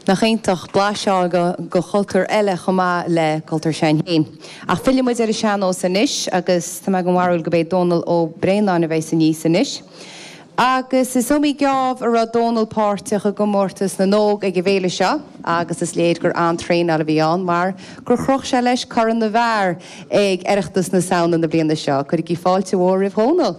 Nach iontach, blaiseadh de chultúr eile chomh maith le cultúr s'againn féin. Ach fillfidh muid ar an sean-nós anois agus tá mé den bharúil gurb é Dónal Ó Braonáin a bheas aníos anois. Agus is iomaí geábh a raibh Dónal páirteach i gcomórtas na nÓg ag an bhféile seo agus is léir gur an-traenáil a bhí ann mar gur chroch sé leis Corn na bhFear ag Oireachtas na Samhna na bliana seo. Cuirigí fáilte mhór roimh Dhónal!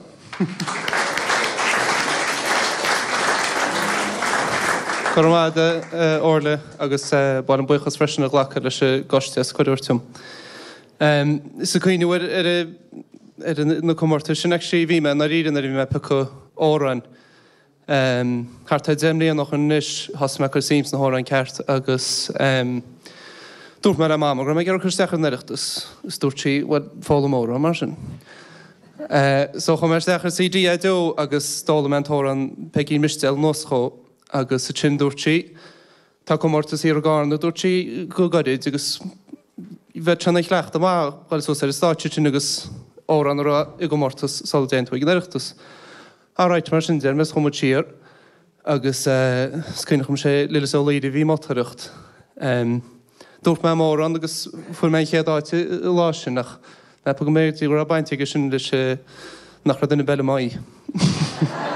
Go raibh maith agat, a Orla, agus ba mhaith liom buíochas freisin a ghlacadh leis an gcoiste as cuireadh a thabhairt dom. Is ag cuimhneamh ar ar na comórtais sin actually bhí mé i ndáiríre nuair a bhí mé ag piocadh amhráin. Thart ar 10 mbliana ó shin anois thosaigh mé ag cur suim sna hamhráin ceart agus dúirt mé le Mama go raibh mé ag iarraidh cur isteach ar an Oireachtas is dúirt sí bhuel foghlaim amhrán mar sin. So chuaigh mé isteach ar CD iDeo agus d'fhoghlaim mé an t-amhrán Peigín Mistéil anuas chomh agus ansin dúirt sí tá comórtas thiar i gCarna dúirt sí go gairid agus bheadh sé ina chleachtadh maith dhul suas ar an stáitse sin agus amhrán a rá i gcomórtas sula dtéann tú ag an Oireachtas. Alright, mar sin deir mé is chuaigh muid siar agus is cuimhneach liom sé Lillis Ó Laoire a bhí ag moltóireacht. Dúirt mé m'amhrán agus fuair mé an chéad áit an lá sin ach meapaim go mb'fhéidir go raibh baint aige sin leis nach raibh duine ar bith eile i m'aghaidh.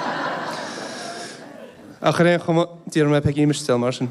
Ach ar aon chuma, déarfaidh mé Peigín Mistéil mar sin.